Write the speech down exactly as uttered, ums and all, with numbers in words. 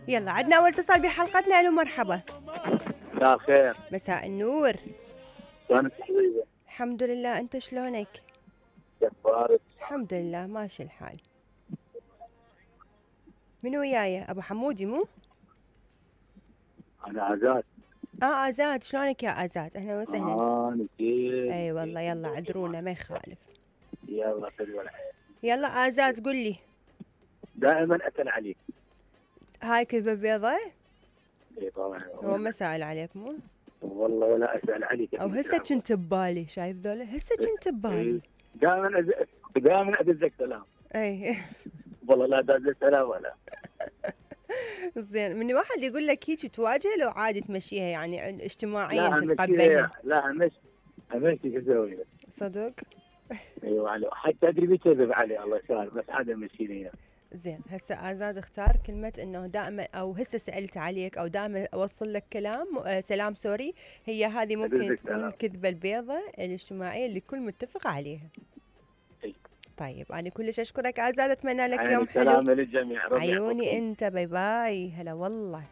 يلا عندنا اول اتصال بحلقتنا. الو مرحبا. مساء الخير. مساء النور. شلونك حبيبي؟ الحمد لله، انت شلونك؟ جبارك. الحمد لله ماشي الحال. من وياي؟ ابو حمودي مو؟ انا عزاد. اه ازاد، شلونك يا ازاد؟ اهلا وسهلا. اه نجيب. اي والله يلا عذرونا ما يخالف. يلا خذ ولا حاجة. يلا ازاد قل لي. دائما اسال عليك. هاي كذبه بيضة؟ اي طبعا. هو ما سائل عليك مو؟ والله ولا اسال عليك. او هسه كنت ببالي، شايف ذولا هسه كنت ببالي. دائما أز... دائما ادزك سلام. اي والله لا دازك سلام ولا. زين، من واحد يقول لك هيك تواجه لو عادي تمشيها يعني اجتماعيا لا تتقبلها؟ لا همش همش شو اسوي؟ صدق؟ ايوه علي حتى ادري بيكذب علي الله يسهل بس عاد مشيني. زين هسه ازاد اختار كلمة انه دائما او هسه سألت عليك او دائما اوصل لك كلام آه سلام سوري. هي هذه ممكن تكون الكذبة البيضة الاجتماعية اللي الكل متفق عليها. طيب انا كلش اشكرك ازاد، اتمنى لك يوم حلو. سلام للجميع. عيوني انت، باي باي. هلا والله.